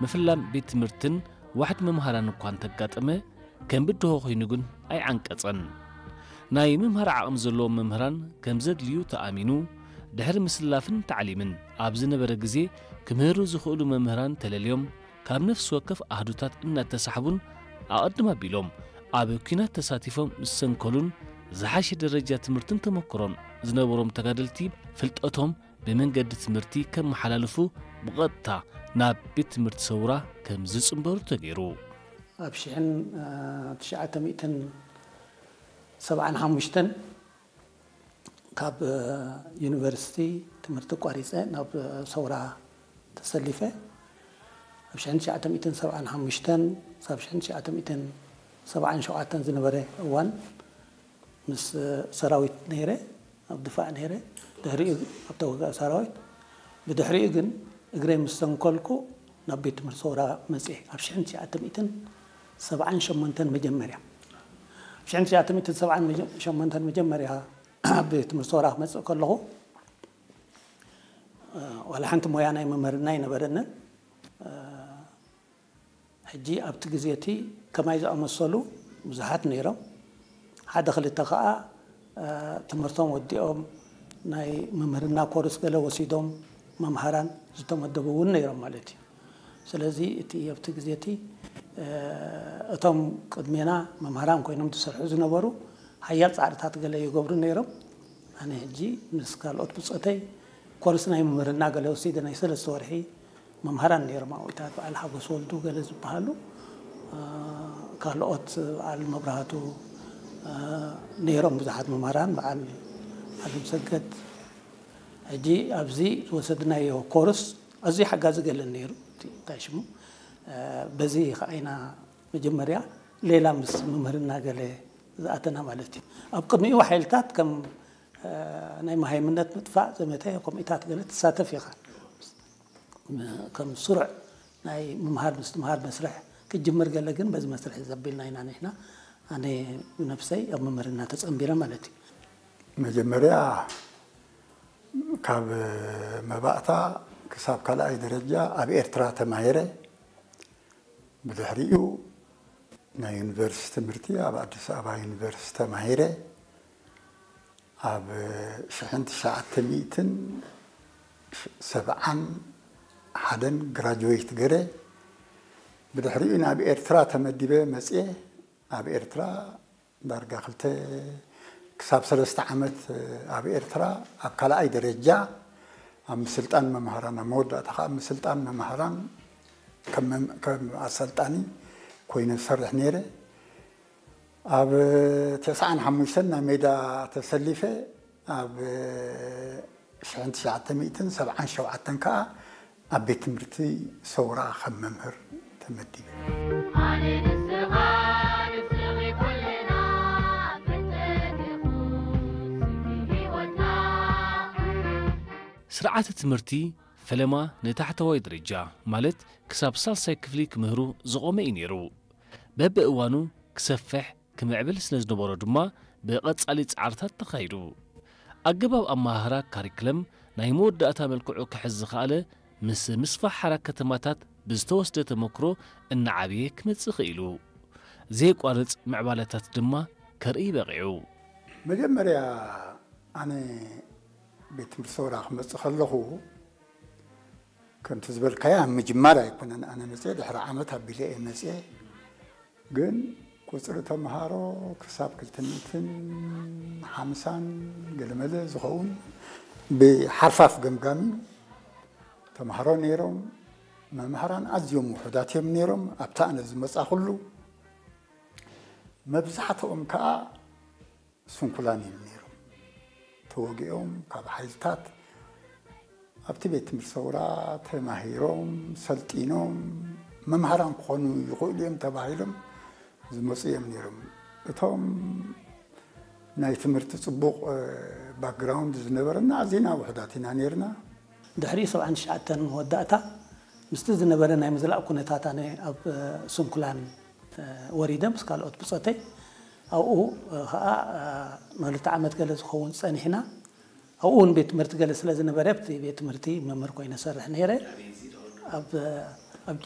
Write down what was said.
ምፍላም ቤት ትምህርትን ዋሕድ መምሃራን እኳ እንተጋጠመ፣ ከም ብድሆ ኮይኑ ግን ኣይዓንቀጸን። ናይ ምምሃር ዓቕሚ ዘለዎም መምህራን ከም ዘድልዩ ተኣሚኑ፣ ድሕሪ ምስላፍን ታዕሊምን ኣብ ዝነበረ ግዜ ክምህሩ ዝኽእሉ መምህራን ተለልዮም፣ ካብ ነፍሲ ወከፍ ኣህዱታት እናተሳሕቡን ኣቐድም ኣቢሎም ኣብ ኲናት ተሳቲፎም ዝሰንከሉን ዝሓሸ ደረጃ ትምህርትን ተመክሮን ዝነበሮም ተጋደልቲ ፍልጠቶም ብመንገዲ ትምህርቲ ከመሓላልፉ ብቐጥታ ናብ ቤት ትምህርቲ ሰውራ ከም ዝጽንበሩ ተገይሩ። ኣብ ሽሕን ትሽዓተ ሚእትን ሰብዓን ሓሙሽተን ካብ ዩኒቨርሲቲ ትምህርቲ ኣቋሪጸ ናብ ሰውራ ተሰሊፈ። ኣብ ሽሕን ትሽዓተ ሚእትን ሰብዓን ሓሙሽተን ሳብ ሽሕን ትሽዓተ ሚእትን ሰብዓን ሸውዓተን ዝነበረ እዋን ምስ ሰራዊት ነይረ፣ ኣብ ድፋዕ ነይረ። ድሕሪኡ ኣብ ተዋጋኢ ሰራዊት። ብድሕሪኡ ግን እግረይ ምስ ሰንከልኩ ናብ ቤት ትምህርቲ ሰውራ መጽኤ። ኣብ ሽሕን ትሽዓተ ሚእትን ሰብዓን ሸሞንተን መጀመርያ። ኣብ ሽሕን ትሽዓተ ሚእትን ሰብዓን ሸሞንተን መጀመርያ ኣብ ቤት ትምህርቲ ሰውራ ክመጽእ ከለኹ፣ ዋላ ሓንቲ ሞያ ናይ መምህርና ኣይነበረንን። ሕጂ ኣብቲ ግዜ እቲ ከማይ ዝኣመሰሉ ብዙሓት ነይሮም። ሓደ ክልተ ከኣ ትምህርቶም ወዲኦም ናይ መምህርና ኮርስ ገለ ወሲዶም መምሃራን ዝተመደቡ እውን ነይሮም ማለት እዩ። ስለዚ እቲ ኣብቲ ግዜ እቲ እቶም ቅድሜና መምሃራን ኮይኖም ዝሰርሑ ዝነበሩ ሓያል ጻዕርታት ገለ ይገብሩ ነይሮም። ኣነ ሕጂ ምስ ካልኦት ብጾተይ ኮርስ ናይ መምህርና ገለ ወሲደ ናይ ሰለስተ ወርሒ መምሃራን ነይሮም ኣብኡታት፣ በዓል ሓጎስ ወልዱ ገለ ዝበሃሉ፣ ካልኦት በዓል መብራህቱ ነይሮም ብዙሓት መምሃራን፣ በዓል ዓለም ሰገድ። ሕጂ ኣብዚ ዝወሰድናዮ ኮርስ ኣዝዩ ሓጋዚ ገለን ነይሩ። እቲ እንታይ ሽሙ፣ በዚ ከዓይና መጀመርያ ሌላ ምስ ምምህርና ገለ ዝኣተና ማለት እዩ። ኣብ ቅድሚኡ ሓይልታት ከም ናይ መሃይምነት ምጥፋእ ዘመተ ከምኡታት ገለ ትሳተፍ ኢኻ። ከም ስሩዕ ናይ ምምሃር ምስትምሃር መስርሕ ክጅምር ገለ ግን በዚ መስርሕ ዘቢልና ኢና ንሕና። ኣነ ብነብሰይ ኣብ ምምህርና ተጸንቢረ ማለት እዩ። መጀመርያ ካብ መባእታ ክሳብ ካልኣይ ደረጃ ኣብ ኤርትራ ተማሂረ። ብድሕሪኡ ናይ ዩኒቨርሲቲ ትምህርቲ ኣብ ኣዲስ ኣበባ ዩኒቨርሲቲ ተማሂረ። ኣብ ሽሕን ትሽዓተ ሚእትን ሰብዓን ሓደን ግራጅዌት ገረ። ብድሕሪኡ ናብ ኤርትራ ተመዲበ መጽየ። ኣብ ኤርትራ ዳርጋ ክልተ ክሳብ ሰለስተ ዓመት ኣብ ኤርትራ ኣብ ካልኣይ ደረጃ ኣብ ምስልጣን መምሃራን፣ ኣብ መወዳእታ ከዓ ኣብ ምስልጣን መምሃራን ከም መም- ከም ኣሰልጣኒ ኮይነ ዝሰርሕ ነይረ። ኣብ ተስዓን ሓሙሽተን ናብ ሜዳ ተሰሊፈ። ኣብ ሽሕን ትሽዓተ ሚእትን ሰብዓን ሸውዓተን ከዓ ኣብ ቤት ትምህርቲ ሰውራ ከም መምህር ተመዲበ። ኣነ ንስኻ ንስኺ ኩልና ፍልጠት ኢኹ ስንቂ ህይወትና። ስርዓተ ትምህርቲ ፈለማ ንታሕተዋይ ደረጃ ማለት ክሳብ ሳልሳይ ክፍሊ ክምህሩ ዝቖመ እዩ ነይሩ። በብእዋኑ ክሰፍሕ ክምዕብል ስለ ዝነበሮ ድማ ብቐጻሊ ጻዕርታት ተኻይዱ። ኣገባብ ኣመሃህራ ካሪክለም ናይ መወዳእታ መልክዑ ክሕዝ ዝኸኣለ ምስ ምስፋሕ ሓራ ከተማታት ብዝተወስደ ተመክሮ እናዓበየ ክመጽእ ኽኢሉ። ዘየቋርጽ ምዕባለታት ድማ ከርኢ በቒዑ። መጀመርያ ኣነ ቤት ትምህርቲ ሰውራ ክመጽእ ከለኹ ከምቲ ዝበልካያ ኣብ ምጅማር ኣይኮነን ኣነ መፅየ፣ ድሕሪ ዓመት ኣቢለ እየ መፅየ። ግን ቁፅሪ ተምሃሮ ክሳብ ክልተ ሚእትን ሓምሳን ገለመለ ዝኸውን ብሓርፋፍ ገምጋም እዩ። ተምሃሮ ነይሮም፣ መምሃራን ኣዝዮም ውሑዳት እዮም ነይሮም። ኣብታ ኣነ ዝመፃኹሉ መብዛሕትኦም ከዓ ስንኩላን እዮም ነይሮም። ተወጊኦም ካብ ሓይልታት ኣብቲ ቤት ትምህርቲ ሰውራ ተማሂሮም ሰልጢኖም መምሃራን ክኾኑ ይኽእሉ እዮም ተባሂሎም ዝመፁ እዮም ነይሮም። እቶም ናይ ትምህርቲ ፅቡቕ ባክግራውንድ ዝነበረና ኣዚና ውሑዳት ኢና ነይርና። ድሕሪ ሰብዓን ትሽዓተን መወዳእታ ምስቲ ዝነበረ ናይ ምዝላቕ ኩነታት ኣነ ኣብ ስንኩላን ወሪደ ምስ ካልኦት ብፆተይ ኣብኡ ከዓ ንክልተ ዓመት ገለ ዝኸውን ፀኒሕና። ኣብኡ እውን ቤት ትምህርቲ ገለ ስለ ዝነበረ ኣብቲ ቤት ትምህርቲ መምህር ኮይነ ሰርሕ ነይረ። ኣብ ኣብ